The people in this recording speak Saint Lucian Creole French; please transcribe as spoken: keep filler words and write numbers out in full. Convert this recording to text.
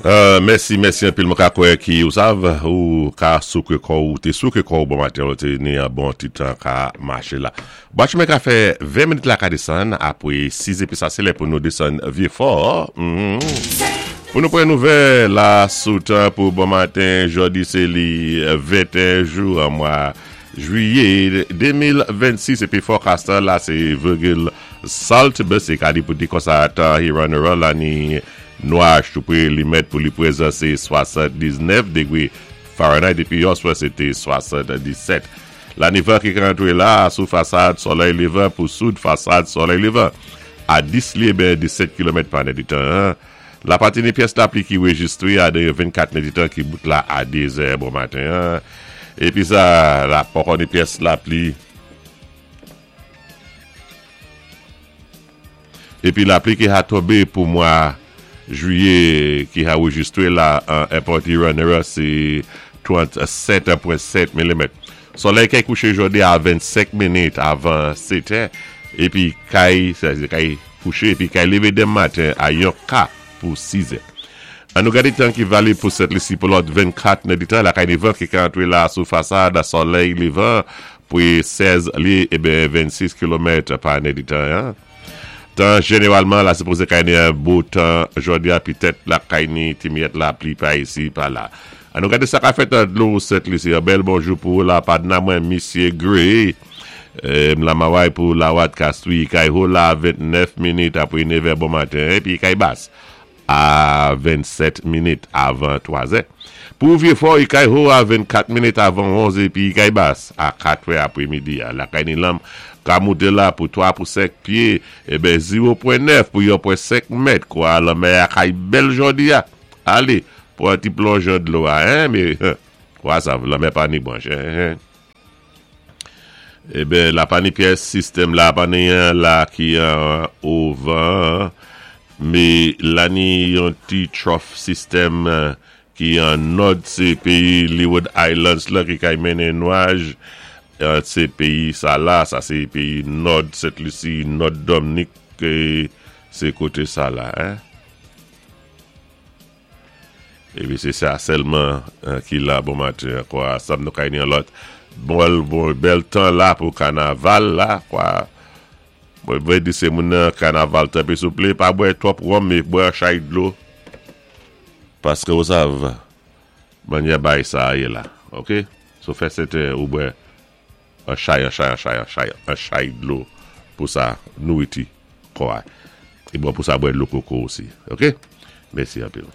Euh, mèsi, mèsi anpil mwen ka kwè ki ou sav, ou ka souké kò ou té souké kò ou bon maten, ou té ni an bon ti tan ka maché la. Bwat mwen ka fè ven minit la ka désann, apwé sis épi sa sé lè pou nou désann Vyé-Fò. Mm Pou nou pran nouvèl la sou tan pou bon maten, jòdi sé li venteyen jou an mwa jwiyé de mil vennsis épi forecast la sé Virgil Saltibus é ka di pou di konsa tan Huron la ni nwaj tou pwé li mèt pou li pwézan sé swasanndisnèf dégwé Fahrenheit épi yèswa sé té swasanndisèt. La ni van ki rantwé la sou fasad solèy lévan pou soud fasad solèy lévan a dis lyé ben disèt kilomèt pa nèditan. La pati ni pyès lapli ki rejistwé a de vennkat nèditan ki bout la a dé zè bon maten. Épi sa, la poko ni pyès lapli. Épi lapli ki a tonbé pou mwa jwiyé ki a rejistwé la an Airport Huron sé trannsèt pwen sèt milimèt. Solèy kay kouché jòdi a vennsenk minit avan sèt épi kay, sé kay kouché épi kay lévé denmen maten a yon ka pou sis. An nou gadé tan ki valib pou Sent Lisi pou lòt vennkat nèditan, la kay ni van ki ka antwé la sou fasad solèy lévan pou sèz lyé é ben vennsis kilomèt pa nèditan. Hein? Tan jénéwalman la sipozé kay ni an bo tan jòdi a pitèt la kay ni ti miyèt lapli pa isi pa la. An nou gadé sa ka fèt an dlo Sent Lisi. An bèl bonjou pou la padna mwen Misye Gray. Eh, la maway pou la wat kastwi kay ho la ventnèf minit apwé nèvè bon maten épi kay bas a vennsèt minit avan twazè. Pou Vyé-Fò, i kay ho a vennkat minit avan onz épi kay bas a kat apwé midi. La kay ni lanm ka mouté la pou twa pou senk pyé, é ben zewo pwen nèf pou yon pwen senk mèt, kwa lanmè a kay bèl jòdi a. Alé, pou an ti plonj an dlo a, hein, mé, kwa sa, lanmè pa ni branch, hein, hein. Eh ben, la pa ni pyès sistèm la pa ni an la ki an ovan, mé la ni yon ti trough system ki an nòd sé péyi Leeward Islands la ki kay mennen nwaj sé péyi sa la, sa sé péyi nòd Sent Lisi, nòd Dominik, sé koté sa la, hein. Épi sé sa sèlman ki la bon maten, kwa, sa nou kay ni an lòt bon, bon, bèl tan la pou kanaval la, kwa. Mwen vlé di sé moun nan kanaval tanpwi souplé, pa bwè twòp wonm, mé bwè chay dlo. Paské ou sav, mannyè bay sa yé la, ok? So fè sèten ou bwè an chay, an chay, an chay, an chay, an chay dlo pou sa nouriti, kwa. É bon pou sa bwè dlo koko osi, ok? Mèsi anpil.